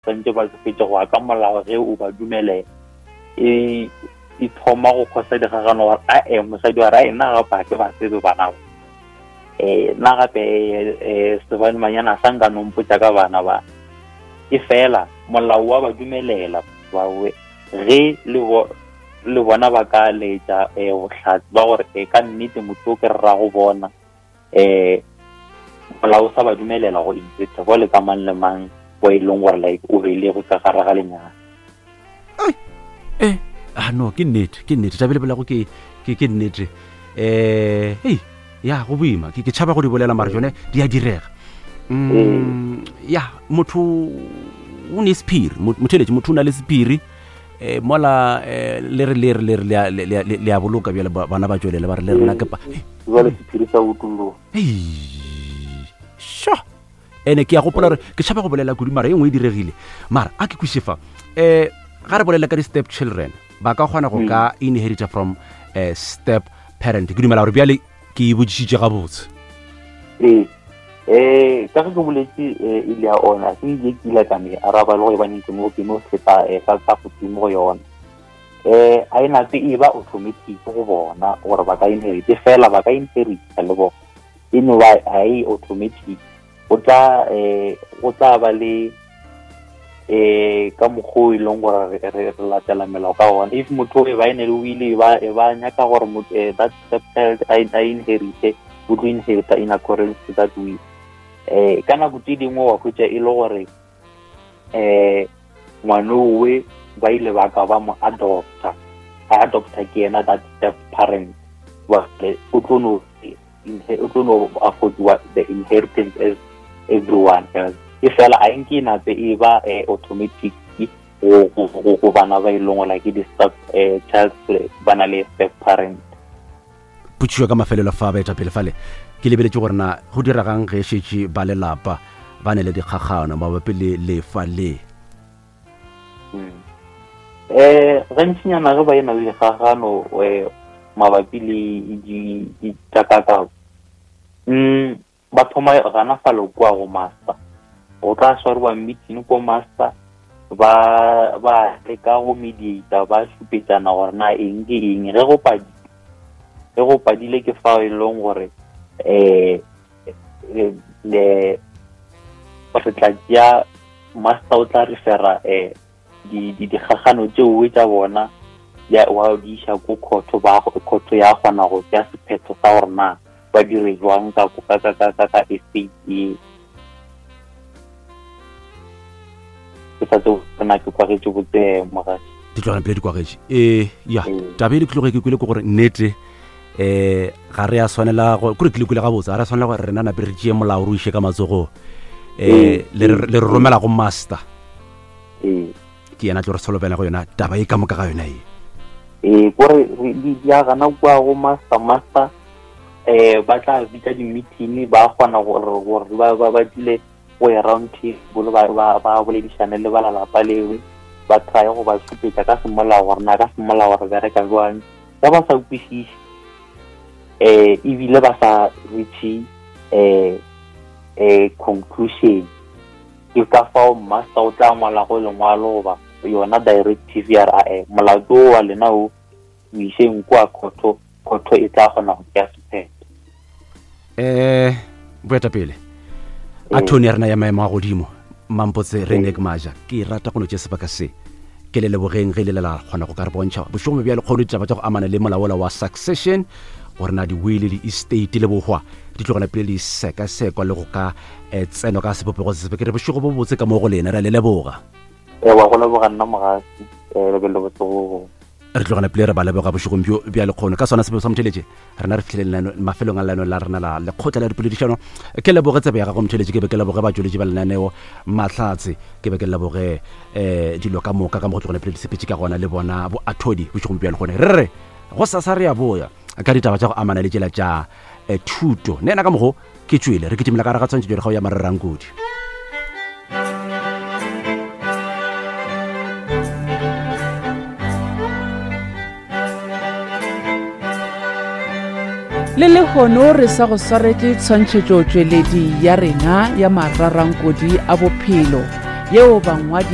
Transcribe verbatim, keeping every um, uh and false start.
Santse ba tsofetse go ya ka molao ge o ba dumelela e e thoma go kgosa dikgagano gore ae mosadi wa re ae nna gape ga ke ba tsebe bana ba um nna gape um sebanemanyana sa nka nompotsa ka bana ba e fela molao wa ba dumelela bawe ge le bo le bona ba ka letša um bohlatse ba gore e ka nnete motho o ke rra go bona um molao o sa ba dumelela go inherita bole ka mang le mang bo e leng gore like o beile ka gare ga lenyalo. Eh ah no, ke nnete, ke nnete taba e lebelago ke ke ke nnete. Eh hei, ya go boima, ke ke tšhaba go di bolela, mara jone di a direga. Mm ya motho o ne sephiri, motheletši, motho o na le sephiri eh mola eh, le re le re le re le a- le le- le a boloka bjale ba- bana ba tšwelele ba re le rena ke pa Jale sephiri sa utulloga. Hei, sure. Ene ke ya gopola gore ke tšhaba go bolela kudu, mara e nngwe e diregile, mara a ke kweše fa um ga re bolela ka di-step children ba ka kgona go ka inherita from uh, step parent. Ke dumela gore bjale ke e botšišitše gabotse. Ee, um ka ge ke boletse um ile ya ona se ile ke ile ka me araba le go e baneng ke mo ke no feta um ka ka godimo go yona um a e nape e ba automatic go bona gore ba ka inherit, fela ba ka inherita le bona e no ba ha e automatic. Go tla um go tla ba le eh ka mokgwa o e leng gore re re- re latela melao ka gona. If motho e ba e ne le wile e ba e ba nyaka gore motho eh, that step child a a inherite, o tlo inherita in accordance to that will. eh ka nako tse dingwe wa hwetša e le gore eh ngwanowe ba ile ba ka ba mo adopta, a adopta ke yena that step parent, wa o tlo no o tlo no affordiwa the inheritance as everyone else. E fela a nke e nape e ba eh, automatic go go- go go bana ba e leng gore ke di-step eh, child ba na le step parent. Potšišo ka mafelelo fa baetapele fale, ke lebeletše gore na go diregang ge šetše ba lelapa ba ne le dikgagano mabapi le lefa le? Eh gantšinyana ge ba e na le dikgagano eh, mabapi le di- ditakakao, mm ba thoma gana fale kua go master. Go tla swariwa meeting ko master, ba ba leka go mediata, ba šupetšana gore na eng ke eng. Ge go padi ge go padile ke fao e leng gore eh eh, le re tla tšea master o tla refera eh di di dikgagano tšeo tša bona ya wa di iša ko khotho, ba khotho ya kgona go tšea sephetho sa gore na ba dire jwang ka ka ka ka ka ka estate e. Ke sa tsebe gore na ke kwagetše botse, mogaši. Di tlogela pele di kwagetše ee ya. Ee. Taba e le tloge ke kwele ke gore nnete um ga re a swanela go kore ke le kwele gabotse, ga re a swanela gore rena nape re tšee molao re o iše ka matsogong um Ee. le re le re romela go master. Ee. Ke yena tlo re solobela go yona taba e ka moka ga yona e. Ee, kore re- di di a gana kua go master. Master eh ba tla bitsa di-meeting, ba kgona gore gore ba ba ba dule go ya round table, ba ba ba boledišane le ba lelapa lewe, ba try go ba šupetša ka semolao gore na ka semolao re bereka jwang. Ge ba sa kwešiše eh ebile ba sa reach eh eh conclusion, ke ka fao master o tla ngwala go lengwalo goba yona directive ya re ae molato o wa lena o o išeng kua khotho, khotho e tla kgona go tšea sephetho. Um boetapele a tony ya rena ya maemo a godimo Mampotse Renek Maja, ke rata go no tšea sebaka se ke le lebogeng ge le le la kgona go ka re bontšha bošego bjale kgono ditaba tša go amana le molaola wa succession, gore na di-will le estate le bohwa di tlogela pele di sekasekwa le go ka eh, tsenwa ka sebopego se sefe. Ke re bošego bo botse ka mo go lena, re a le leboga. E wa go leboga nna mogasi, um le be le botse go Re tlogela pele re ba leboga bošegong bjo bja lekgono ka sona sebeo sa motheletše rena re fitlhele lenano- mafelong a lenaneo la rena la lekgotla la dipoledišano. Ke leboge tsebe ya gago motheletše, ke be ke leboge batšweletši ba lenaneo Mahlatse, ke be ke leboge um dilo ka moka ka mo go tlogela pele di sepetše ka gona le bona boathodi bošegong bja lekgone. Re re go sasa re ya boya ka ditaba tša go amana le tšela tša eh, thuto. Ne ena ka mogo ke tšwele re kitimela ka gare ga tshwantšhetšo dikgao ya marerankodi. Le lehono re sa go swaretše tshwantšhetšo tšweledi ya rena ya mararankodi a bophelo. Yeo bangwadi